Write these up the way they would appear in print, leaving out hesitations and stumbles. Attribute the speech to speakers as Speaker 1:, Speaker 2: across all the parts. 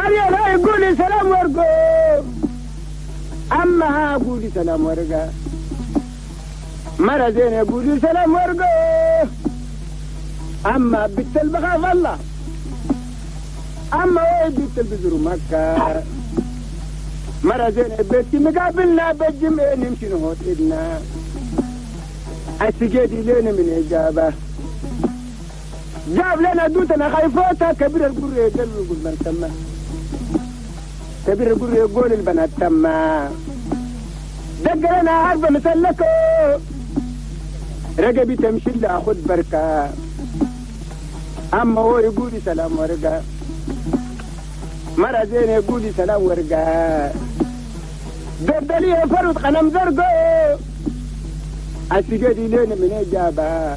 Speaker 1: أريا يقولي سلام ورقو أما قولي سلام ورقة مرة زين يقولي سلام ورقو أما بنت البخاف الله أما وين بنت البزر مكة مرة زين بيتي مقابلنا بالجمع نمشي نهوت إدنا السجادي لنا من إجابة جاب لنا دوتنا خايفوتا كبير القر يقول من تما كبير القر يقول البنات تما دق لنا عربة مسلكو رقبي تمشي لأخذ بركة أما هو يقول سلام ورقة مرة زين يقول سلام ورقة دردليه فرد قنم زرقو السجادي لين من إجابة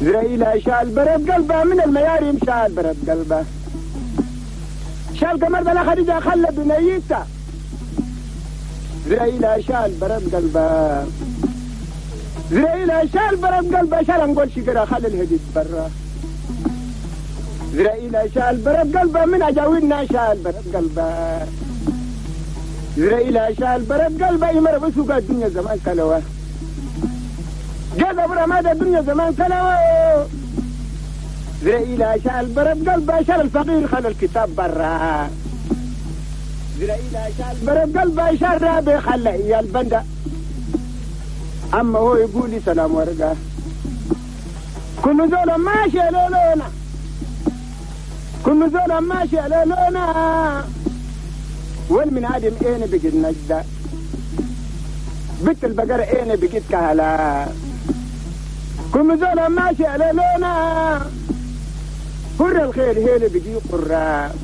Speaker 1: زرائيل شال برد قلبه من المياريم شال برد قلبه شال قمر بلا خديجة خلى بنيته زرائيل شال برد قلبه زرائيل شال برد قلبه شال نقول شكرا خلى الهديد برا زرائيل شال برد قلبه من أجاوينا شال برد قلبه زرائيل شال برد قلبه يمر بسوق الدنيا زمان كلوه جذب رماد الدنيا زمان كلوه زرائيل شال برد قلبه شال الفقير خلى الكتاب برا زرائيل شال برد قلبه شال رابي خلى إيا البندة أما هو يقول لي سلام ورقة كل زول ماشي لولونا كل زول ماشي لولونا والمن عدم اين بقيت نجدة بنت البقرة اين بقيت كهلا كل زول ماشي لولونا قر الخير هيل بقي قرة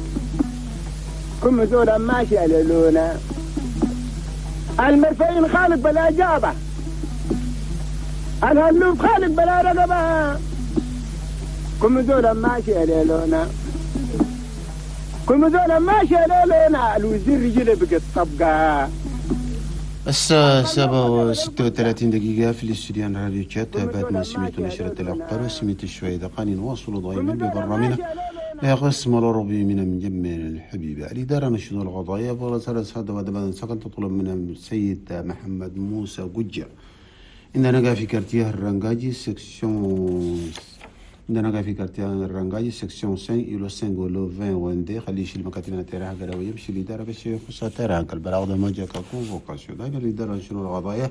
Speaker 1: كل زول ماشي لولونا المرفعين خالق بلا جابة الهلوب خالق بلا رقبة كل زول ماشي لولونا كل زول ماشي لولونا الوزير رجله بقت طبقة.
Speaker 2: الساعة 7:36 دقيقة في الاستوديو راديو تشاد. بعد ما سمعت نشرة الأخبار وسمعت شوية دقائق نواصل دائما ببرنامجنا قسم الأوروبي من مجمع الحبيبة. الإدارة نشيد القضائية فرسالة هذا ودبا سكن تطلب من السيد محمد موسى قجة عندنا في quartier الرنجاجي section عندنا في quartier الرنجاجي section 5 îlot 5 îlot 20 وندي خليه يشيل مكاتبنا تاعها قراويه يمشي الإدارة باش يخصها تاعها البلاغ ده ما جا convocation. دائما الإدارة شنو القضايا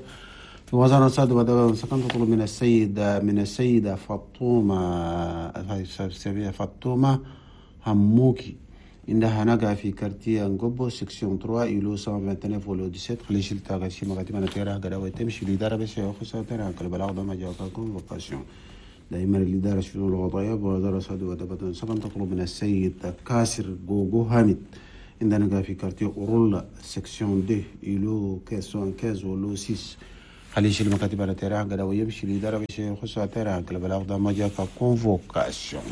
Speaker 2: في وزارة الصاد ودبا سكن تطلب من السيدة فاطمة هموكي عندها نقع في quartier نقبو section 3 îlot 129 îlot 17 خليه يشيل تاعها شي مكاتبنا تاعها قراويه تمشي الإدارة باش يخصها تاعها البلاغ ده ما جا convocation. دائما الإدارة شؤون القضايا بوزارة صاد ودبة سكن تطلب من السيد كاسر جوجو هامد عندنا في quartier أورولا section 2 îlot 15 îlot 6 خليه يشيل المكاتب على تيران قال ويمشي الإدارة باش يخصها terrain البلاغ ده ما جا convocation.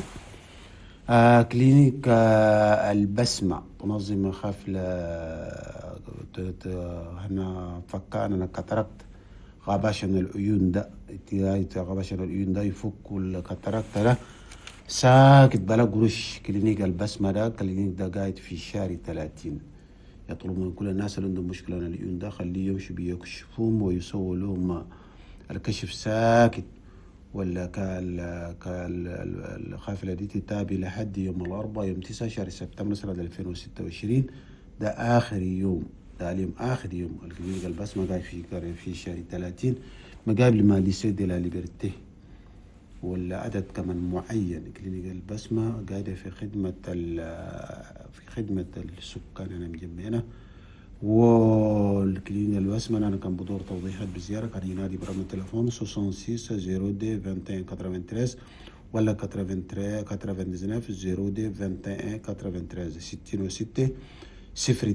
Speaker 2: Clinique البسمة تنظم حفلة هنا فكانا cataracte غباشن العيون ده غباشن العيون ده يفكوا ال cataracte ده ساكت بلا قروش. Clinique البسمة ده clinique ده قاعد في شارع 30 يطلب من كل الناس اللي عندهم مشكلة عن العيون ده خليه يمشوا بيكشفوهم ويسووا لهم الكشف ساكت ولا كالخافلة دي تتابع لحد يوم الأربعاء يوم 9 شهر سبتمبر سنة 2026 ده آخر يوم ده اليوم آخر يوم. ال clinique البسمة قاعد في شهر 30 مقابل ما lycée de la Liberté ولا عدد كمان معين. Clinique البسمة قاعدة في خدمة السكان أنا مجمعنا. وال clinique البسمة أنا كان بدور توضيحات بزيارة كان ينادي برقم التليفون 66 02 21 93 ولا 83 99 02 21 93 66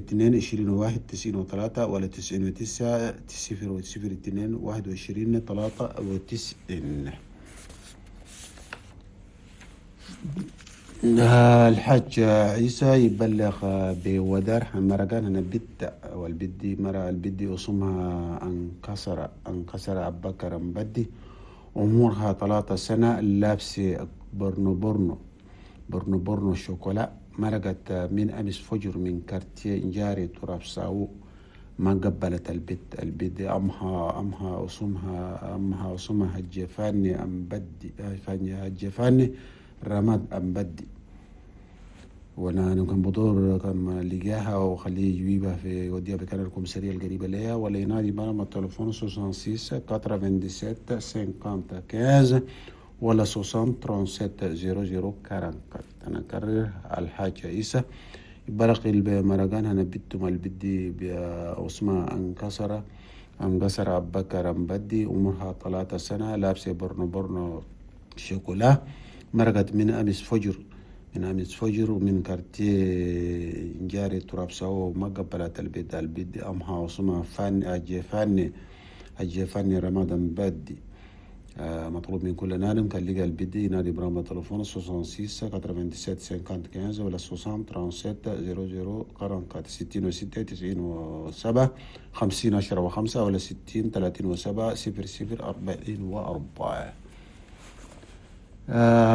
Speaker 2: 02 21 93 ولا 99 0 02 21 93. الحاج عيسى يبلغ بودار مرقان هنا بت والبدي مرة البدي وصمها انكسر أبو بكر مبدي عمرها 3 سنة لابسة برنو برنو برنو شوكولا، مرقت من أمس فجر من كارتيه جاري تراب ساو، ما قبلت البيت أمها أسمها الجفاني أم بدي الجفاني رماد أم بدي. وانا كان بدور كان لقاها وخليه يجيبها في يوديها بكان الكومسارية القريبة ليها، ولا ينادي بنا التليفون 66 97 50 15 ولا 60 37 00 44. أنا أكرر الحاج عيسى برق المرقان هنا بيتم البدي بأسماء انكسر أبو بكر أمبدي، عمرها 3 سنة، لابسة برنو برنو شوكولا، مرقت من أمس فجر ومن كارتيه جاري تراب سوا، وما قبلت البيت أمها وصمها فاني أجفاني رمضان بدي. مطلوب من كل نادم كان لقى البدي ينادي برامج تليفون 66 97 50 15 ولا 60 37 00 44 66 97 50 10 و5 ولا 60 37 00 44.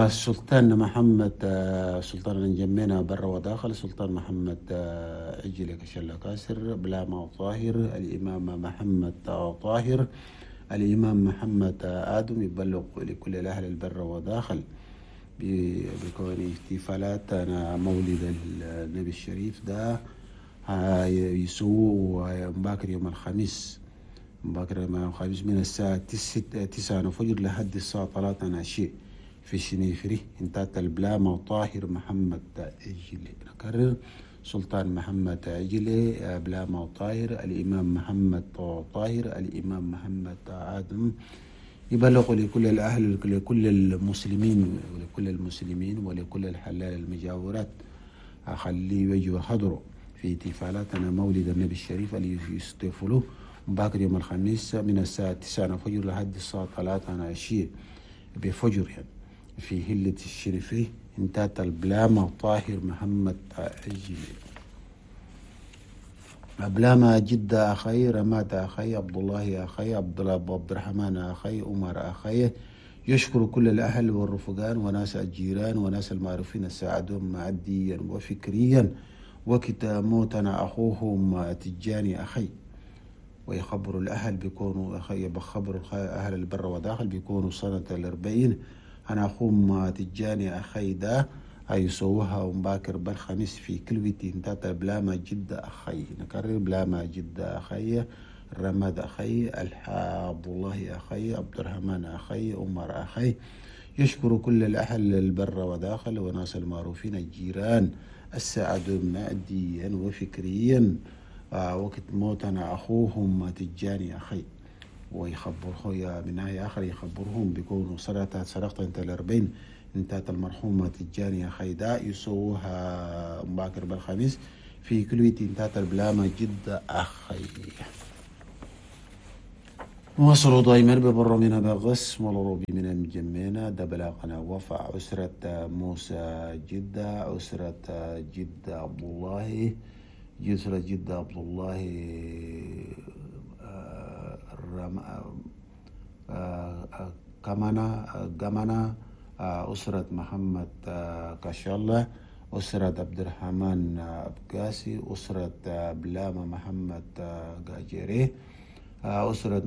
Speaker 2: السلطان محمد سلطان الجمينة برا وداخل، السلطان محمد عجل كشلة كاسر بلاما طاهر، الإمام محمد طاهر، الإمام محمد آدم يبلغ لكل الأهل البر وداخل بكون احتفالات أنا مولد النبي الشريف ده يسووا باكر يوم الخميس، من الساعة 9 فجر لحد الساعة 3 عشية في شنيفري انتات البلامة طاهر محمد عجلي. نكرر سلطان محمد عجلي بلامة طاهر، الإمام محمد طاهر، الإمام محمد آدم يبلغ لكل الأهل لكل المسلمين ولكل الحلال المجاورات أخليه يجوا حضروا في احتفالاتنا مولد النبي الشريف اللي يستفلوه باكر يوم الخميس من الساعة 9 فجر لحد الساعة 3 عشية بفجر يعني في هلة الشريفي انتات البلامة طاهر محمد عجلي. بلامة جدة أخي، رماد أخي، عبد الله أخي، عبد الرحمن أخي، عمر أخي، يشكر كل الأهل والرفقان وناس الجيران وناس المعروفين ساعدهم ماديا وفكريا وقت موتنا أخوهم تجاني أخي. ويخبروا الأهل بيكونوا بخبروا أهل البر وداخل بيكونوا سنة 40 أنا أخوهم تجاني أخي ده هيسووها ومباكر بالخميس في كلوتي انتاتا بلاما جدة أخي. نكرر بلاما جدة أخي، رماد أخي، عبد الله أخي، عبد الرحمن أخي، عمر أخي. يشكر كل الأهل البر وداخل وناس المعروفين الجيران الساعدوا ماديا وفكريا وقت موتنا أخوهم تجاني أخي. ويخبره يا من ناحية آخر يخبرهم بيكونوا سرقت انت 40 انتات المرحومة تجاني أخي دا يسووها مباكر بالخميس في كلوية انتات البلامة جدة أخي. وصلوا دايما ببر من بغس والروبي من المجمينة دبلاقنا وفع أسرة موسى جدة، أسرة جدة عبد الله، أسرة جدة عبد الله كمانا، أسرة محمد كشالة، أسرة عبد الرحمن أبقاسي، أسرة بلامة محمد قاجري، أسرة